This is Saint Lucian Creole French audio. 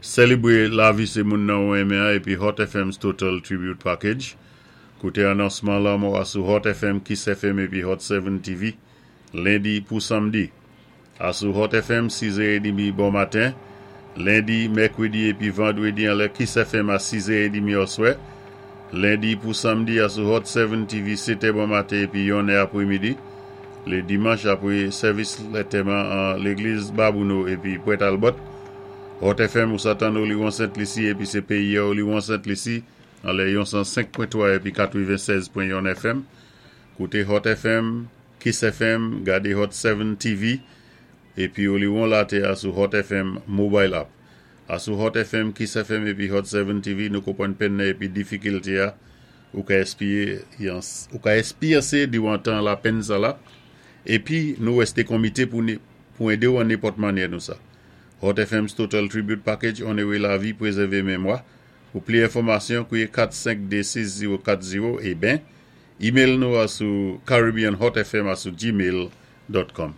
Sélébwé lavi sé moun nan ou enmen-an épi Hot FM's Total Tribute Package. Kouté anonsman lanmò a sou Hot FM, Kiss FM épi Hot 7 TV, lendi pou samdi. Asou Hot FM, 6 è édmi bon maten, lendi, mèkwédi épi vandwédi anlè Kiss FM a 6 è édmi oswè, lendi pou samdi asou Hot 7 TV 7 è bon maten épi 1 è apwémidi, lé dimanch apwé sèvis lantèman an légliz Babouno épi Pwent Albert. Hot FM ou sa tann Oliwon Sent Lisi épi sé péyi-a Oliwon Sent Lisi anlè yon 105.3 épi 96.1 FM. Kouté Hot FM, Kiss FM, gadé Hot 7 TV épi Oliwon Latè a sou Hot FM Mobile App. Asou Hot FM, Kiss FM épi Hot 7 TV nou konpwann penn nan épi difikilte a ou ka espiyans ou ka espyansé diwan tan lapenn sa la épi nou wèsté konmité pou pou édé-w an nenpòt mannyè nou sa. Hot FM's Total Tribute Package onoré lavi, pwézèvé mémwa. Pou pli enfòmasyon, kouwé 4526040 é ben, email nou a sou caribbeanhotfm asou gmail.com.